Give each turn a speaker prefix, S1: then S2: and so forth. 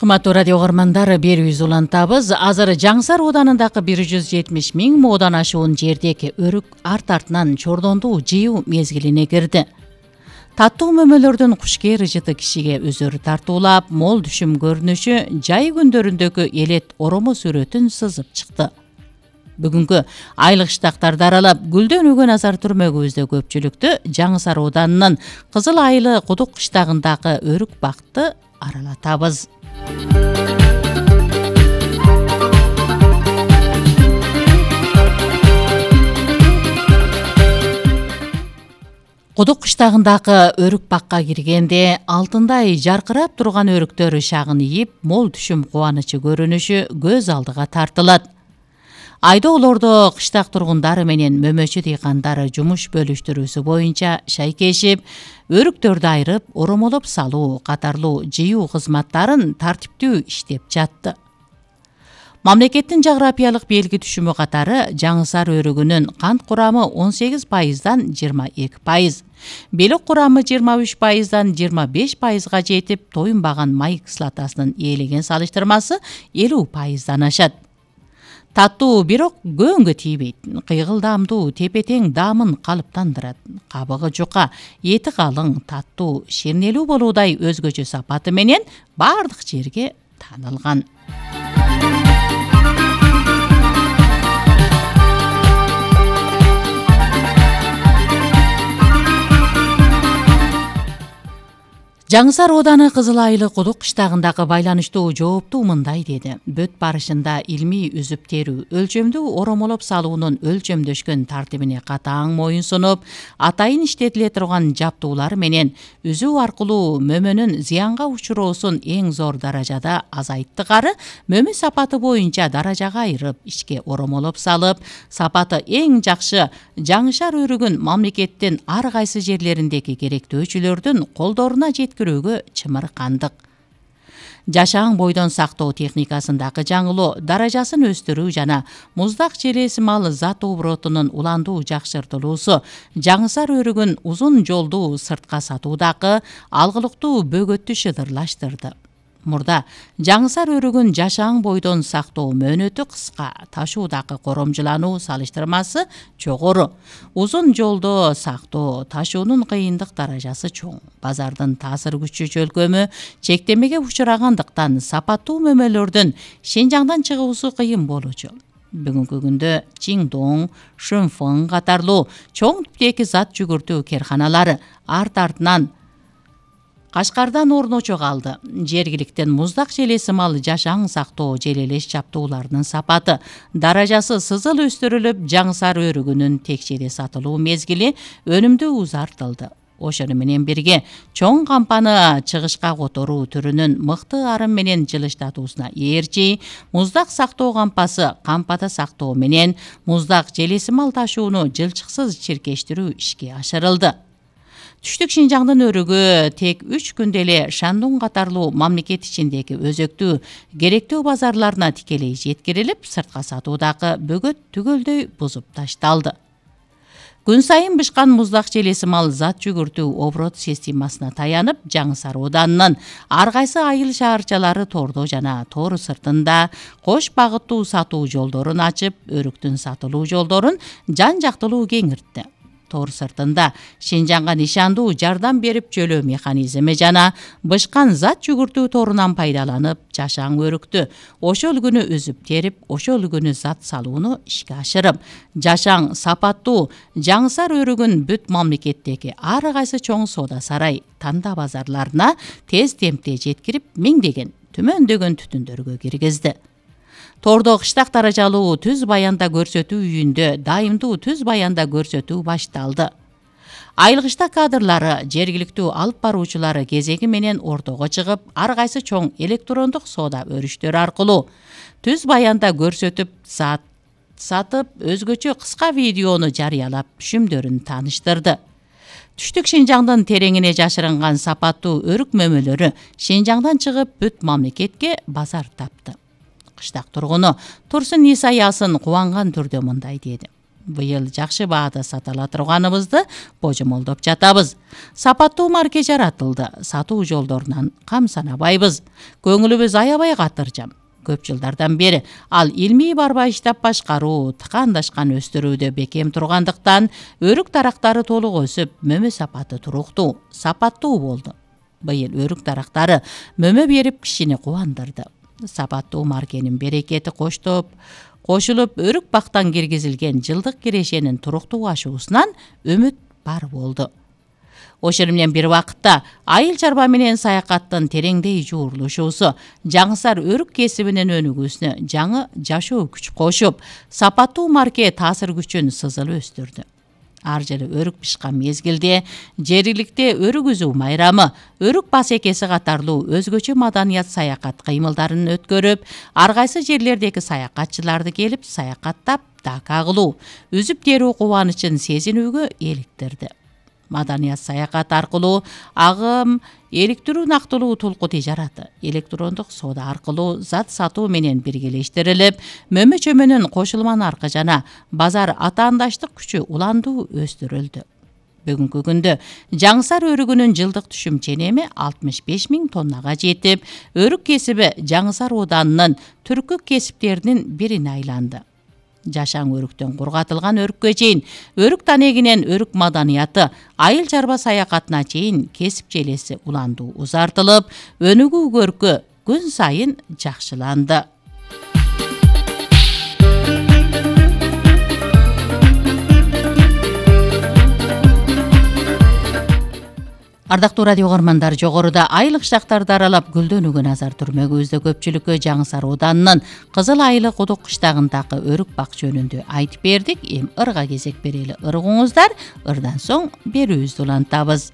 S1: Кымбаттуу радио көрөрмандар, берүүбүз улантабыз. Азыр Жаңсар ооданындагы 170 миң моодан ашуун жердеги өрүк арт-артынан чордондуу жыйуу мезгилине кирди. Таттуу мөмөлөрдүн кушкер ижыты кишиге өзөрү тартуулап, мол түшүм көрүнүшү жай күндөрүндөгү элет оромо сүрөтүн сызып чыкты. Бүгүнкү айлык штактарды аралап, гүлдөн өгөн азар түрмөгүбүздө көпчүлүктү Жаңсар ооданынын Кызыл Айылы Кудук кыштагындагы өрүк бакты аралатабыз. Кудук кыштагындагы өрүк бакка киргенде алтындай жаркырап турган өрүктөр шагын ийип, мол түшүм кубанычы көрүнүшү көз алдыга тартылат. Айдоолордо кыштак тургундары менен мөмөчү дыйкандары жумуш бөлүштүрүүсү боюнча шайкешип, өрүктөрдү айырып, оромолоп салуу катарлуу жыйуу кызматтарын тартиптүү иштеп жатты. Мамлекеттин жаграпиялык белги түшүмү катары Жаңсар өрүгүнүн кант курамы 18%дан 22%, белек курамы 23%дан 25%га жетип, тоюнбаган май кислотасынын ээлеген салыштырмасы 50%дан ашат. Таттуу, бирок көңгө тийбейт. Кыйгылдамдуу, тепе-тең даамын калыптандырат. Кабыгы жука, эти калың, таттуу, ширнелүү болуудай өзгөчө сапаты менен бардык жерге таанылган. Жаңсар ооданы Кызыл Айылы Кудук кыштагындагы байланыштуу жооптуу мындай деди. Бөт барышында илмий үзүп терүү, өлчөмдүү оромолоп салуунун өлчөмдөшкөн тартибине катаң моюн сунуп, атайын иштетиле турган жаптуулар менен үзүү аркылуу мөмөнүн зыянга учуроосун эң зор даражада азайттыгары, мөмө сапаты боюнча даражага айырып, ичке оромолоп салып, сапаты эң жакшы Жаңсар өрүгүн мамлекеттин ар кайсы жерлериндеги керектөөчүлөрдүн колдоруна жеткирүүгө чымыркандык. Жашаң бойдон сактоо техникасындагы жаңылоо, даражасын өстүрүү жана муздак желеси мал зат оборотунун уландуу жакшыртылуусу Жаңсар өрүгүн узун жолдуу сыртка сатуудагы алгылыктуу бөгөттү шыдырлаштырды. Мурда Жаңсар өрүгүн жашаң бойдон сактоо мөөнөтү кыска, ташуудагы коромжулануу салыштырмасы жогору. Узун жолдо сактоо, ташуунун кыйындык даражасы чоң. Базардын таасир күчү чөлкөмү чектемеге учурагандыктан сапаттуу мөмөлөрдүн Шенжаңдан чыгуусу кыйын болчу. Бүгүнкү күндө Чиндоң, Шөнфөн катарлуу чоң типтеги зат жүгүртүү керканалары арт-артынан Кашкардан орночо калды. Жергиликтен муздак желеси мал жашаң сактоо желелеш жаптууларынын сапаты, даражасы сызыл өстүрүлүп, Жаңсар өрүгүнүн текчеде сатылуу мезгили өнүмдүү узартылды. Ошону менен бирге чоң кампаны чыгышка которуу түрүнүн мыкты арым менен жылыштатуусуна ээрчи, муздак сактоо кампасы кампада сактоо менен муздак желеси мал ташууну жылчыксыз чиркештирүү ишке ашырылды. Түштүк Шинжаңдын өрүгү тек 3 күндө эле Шандун катарлуу мамлекет ичиндеги өзөктүү керектөө базарларына тикелей жеткирилип, сыртка сатуудагы бөгөт түгөлдөй бузуп ташталды. Күн сайын бышкан муздак желеси мал зат жүгүртүү оборот системасына таянып, Жаңсар ооданынын ар кайсы айыл шаарчалары тордо жана тоор сыртында кош багыттуу сатуу жолдорун ачып, өрүктүн сатылуу жолдорун жан-жактылуу кеңиртти. Тоор сыртында Шенжаңга нишандуу жардам берип жөлөө механизми жана бышкан зат жүгүртүү торунан пайдаланып, жашаң өрүктү ошол күнү үзүп терип, ошол күнү зат салууну ишке ашырып, жашаң сапаттуу Жаңсар өрүгүн бүт мамлекеттеги ар кайсы чоң соода сарай, танда базарларына тез темпте жеткирип, миңдеген, түмөндөгөн түтүндөргө киргизди. Тордо кыштак даражалуу түз баянда көрсөтүү үйүндө дайымдуу түз баянда көрсөтүү башталды. Айылгышта кадрлары, жергиликтүү алып баруучулары кезеги менен ортого чыгып, ар кайсы чоң электрондук соода өрүштөр аркылуу түз баянда көрсөтүп, сатып, өзгөчө кыска видеону жарыялап, түшүмдөрүн тааныштырды. Түштүк Шинжаңдын тереңине жашырынган сапаттуу өрүк мөмөлөрү Шинжаңдан чыгып, бүт мамлекетке базар тапты. Кыштак тургуну Турсун Исаясын кубанган түрдө мындай деди. Быйыл жакшы баада сата ала турганыбызды божомолдоп жатабыз. Сапаттуу марке жаратылды. Сатуу жолдорунан кам санабайбыз. Көңүлүбүз аябай катыржам. Көп жылдардан бери ал илмий барбайыштап башкаруу, тыкандашкан өстүрүүдө бекем тургандыктан өрүк дарактары толук өсүп, мөмө сапаты туруктуу, сапаттуу болду. Быйыл өрүк дарактары мөмө берип кишини кубандырды. Сапаттуу маркенин берекети кошулуп, өрүк бактан киргизилген жылдык кирешенин туруктуу ашуусунан үмүт бар болду. Ошол менен бир вакытта айыл чарба менен саякаттын тереңдей жуурулушуусу жаңсар өрүк кесибинин өнүгүүсүнө жаңы жашоо күч кошуп, сапаттуу марке таасир күчүн сызылып өстүрдү. Ар жылы өрүк бышкан мезгилде жергиликте өрүк үзүү майрамы, өрүк басекеси катарлуу өзгөчө маданият саякат кыймылдарын өткөрүп, ар кайсы жерлердеги саякатчыларды келип саякаттап, дака кылуу, үзүп терүү кубанычын сезинүүгө иликтирди. Маданият саякат аркылуу агым, иликтирүү нактылуу толку тижараты, электрондук соода аркылуу зат сатуу менен биргелештирилип, мөмө чөмөнүн кошулма наркы жана базар атаандаштык күчү уландуу өстүрүлдү. Бүгүнкү күндө жаңсар өрүгүнүн жылдык түшүм ченеми 65 000 тоннага жетип, өрүк кесиби жаңсар ооданынын түркү кесиптеринин бирине айланды. Жашаң өрүктөн кургатылган өрүккө чейин, өрүк танегинен өрүк маданияты, айыл чарба саякатына чейин кесип желеси уландуу узартылып, өнүгүү көркү күн сайын жакшыланды. Ардактуу радио угармандар, жогоруда айыл кыштактарды аралап гүлдөнүүгө назар түрмөгүбүздө көпчүлүккө жаңсар ооданынын Кызыл Айыл Кудук кыштагындагы өрүк бак жөнүндө айтып бердик. Эми ырга кезек берели. Ыргыңыздар, ырдан соң берүүбүздү улантабыз.